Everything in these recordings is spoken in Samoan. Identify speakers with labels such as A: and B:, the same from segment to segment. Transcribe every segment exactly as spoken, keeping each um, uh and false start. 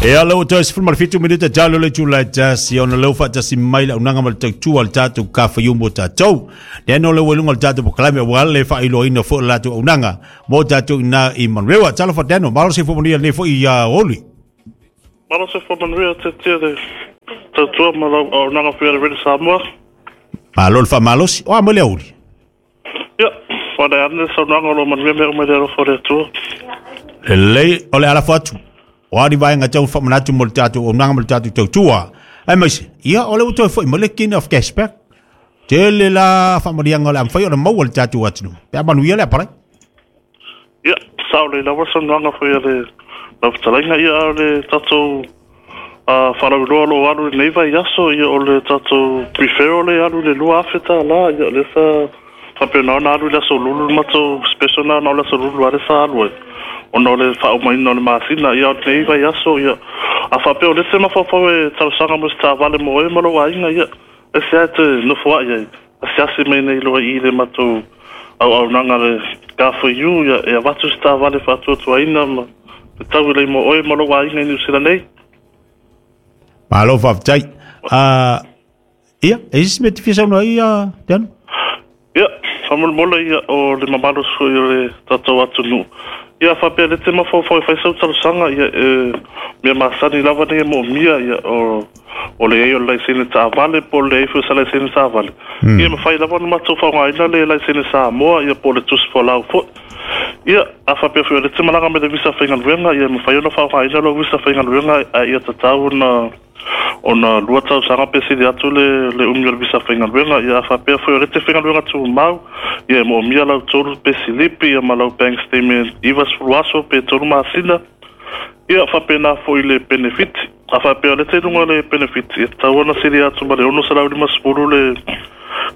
A: E ala o toi sefulu ma le fitu minute talo le tula tasi ona leu faatasi mai le aunaga ma le tautua le tatou kafaiumu o tatou. Lea no le ueluga o le tatou pokalame ua le faailoaina foi le latou aunaga mo tatou ina i Manurewa. Talofa Dano, malo se fua lenei foi ia oli.
B: Malo se fua manuia te tia le tautua ma lau aunaga foi a le Rede Samoa.
A: Malo le faamalosi, o a mai le auli.
B: Ia, whana ane saunoaga o lo manuia mea mai le alofa o le Atua.
A: Lelei o le alafo atu. O a ni vaega tau faamanatu mo le tatou aunaga ma le tatou tautua. Ai maise, ia o le ua toe foi ma le kin of cashback. Tele la faamaliaga o le a mafai ona maua le tatou atunuu. Pe a manuia le apalai.
B: Ia, sao le lawa saunoaga foi a le lau fetalaiga ia o le tatou uh, wharauroa lo alu i nei vai aso ia o le tatou referral le alu le lua afe tā la ia le sa whapena ona alu i le aso lulu matou special na na o le aso lulu ale sa alu ai. Ona o le whaaumaina o le masina ia o nei vai aso ia a whapea o le te mawhawhau e tausaga mo se tāwale mo e malo ainga ia e se ai te nofo ai ai asiasi mai nei loa i le matou au au nanga le ka for you ia e avatu se tāwale whaatuatuaina ma te tau i lei mo oe malo ainga i New Zealand nei.
A: Malo faafetai. Ah, ia, e isi mea te fia saunoa ai, ia, Dano?
B: Ia, whamolemole ia o le mamalo sui o le tatou atunuu. Ia whapea le te mawhawhau e whai sau talosaga ia e mea masani lava nei e moomia ia o o le ei o le laisene taavale po o le ei foi o sa laisene taavale. Ia mawhai lava na matou whaongaina le laisene Samoa ia po o le tusi folau foi. Ia a whapea foi o le te malaga me le visa whaingaluega ia mawhai ona whaongaina lo visa whaingaluega a ia tatau na ona lua tausaga pe sili atu le le umi o le visa whaingaluega ia a whapea foi o le te whaingaluega tumau ia e moomia lau tolu pe silipi ia ma lau bank statement iva sefulu aso pe tolu masina ia whapena foi le benefit a whapea o le te lunga le benefit ia tatau ona sili atu ma le ono selau lima sefulu le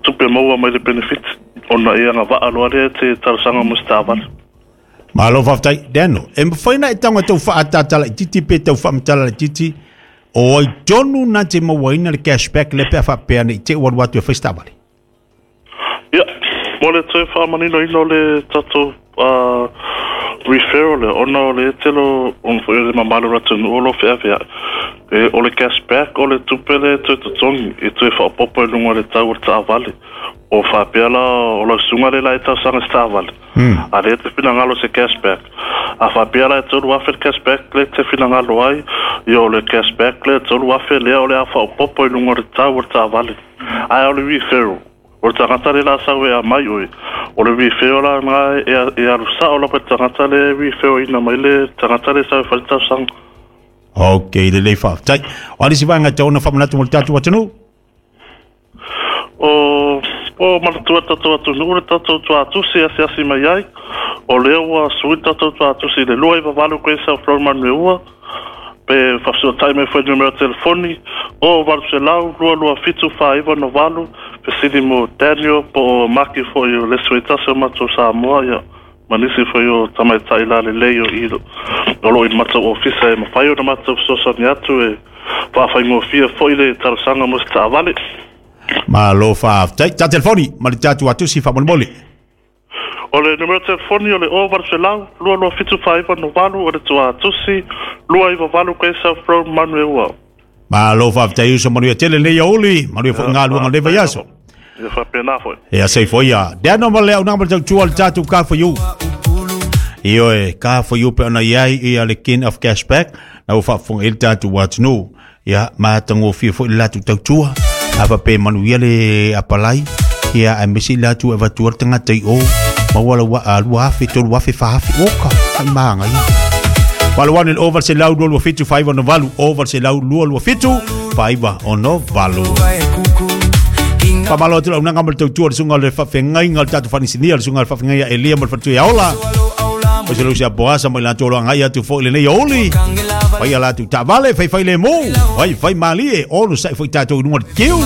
B: tupe maua mai le benefit ona e agavaa loa lea te talosaga mo se taavale.
A: Malo faafetai. Dano, e mafai na e tago tau faatatala itiiti pe tau faamatala itiiti o ai tonu na te mauaina le cashback le pe a faapea nei te ua alu atu e fai se taavale.
B: Ia, mo le toe faamaninoina o le tatou uh, referral le ona o le telo ona foi o le mamalu o le atunuu o lo feaveai. E, o le cashback o le tupe le toe totogi e toe faaopoopo i luga o le tau o le taavale. O faapea la o lau susuga le la e tausaga se taavale. A lea te finagalo se cashback. A faapea la e tolu afe le cashback le te finagalo ai, ia o le cashback le tolu afe lea o le a faaopoopo i luga o le tau o le taavale. Ae o le referral. O le tagata le la sau e a mai oe. O le referral la nga e, e alu sao lapa le tagata le referral ina mai le tagata le sau e fai le tausaga.
A: Ok, lelei faafetai. O a nisi vaega tau ona faamanatu mo le tatou atunuu?
B: O o manatua tatou atunuu le tatou tuatusi asiasi mai ai. O lea ua sui le tatou tuatusi i le lua iva valu koe South Road Manueua pe faafesoatai mai foi numera telefoni o valu selau lua lua fitu fa iva no valu fesili mo Daniel po o Maki foi o le sui tasi o matou Samoa ia ma nisi foi o tamaitai lalelei o i o lo o i matou ofisa e mafai ona matou fesoasoani atu e faafaigofie foi le talosaga mo se taavale.
A: Malo faafetai. Ta telefoni ma le tatou atusi faamolemole.
B: O le numera telefoni o le o valu selau lua lua fitu fa iva no valu o le tuatusi lua iva valu koe South Road Manueua.
A: Malo faafetai uso manuia tele lenei aouli, manuia foi galuega o lenei vaiaso.
B: Ia faapena foi.
A: Ia sei foi ia. Dano ma le aunaga ma le tautua le tatou Car for You. Ioe, Car for You pe ona iai ia le king of cashback na ua faafofoga i le tatou atunuu. Ia matagofie foi le latou tautua. A faapea manuia le apalai. Ia aemaise i latou e avatua le tagata i o. Maua lau a lua afe, tolu afe, fa afe. Oka, ai maga ia. Valo ane le o valu selau lua lua fitu fa iva ono valu. O valu selau lua lua fitu fa iva ono valu. Faamalo atu le aunaga ma le tautua le susuga o le faafeagaiga o le tatou faainisinia le susuga o le faafeagaiga Elia ma le faletua ia Ola. O se lausi a Boasa mai latou o lo agai atu foi lenei aouli. Fai a latou taavale, faifai lemu, faifai malie, onosai foi tatou i luga o le tiu.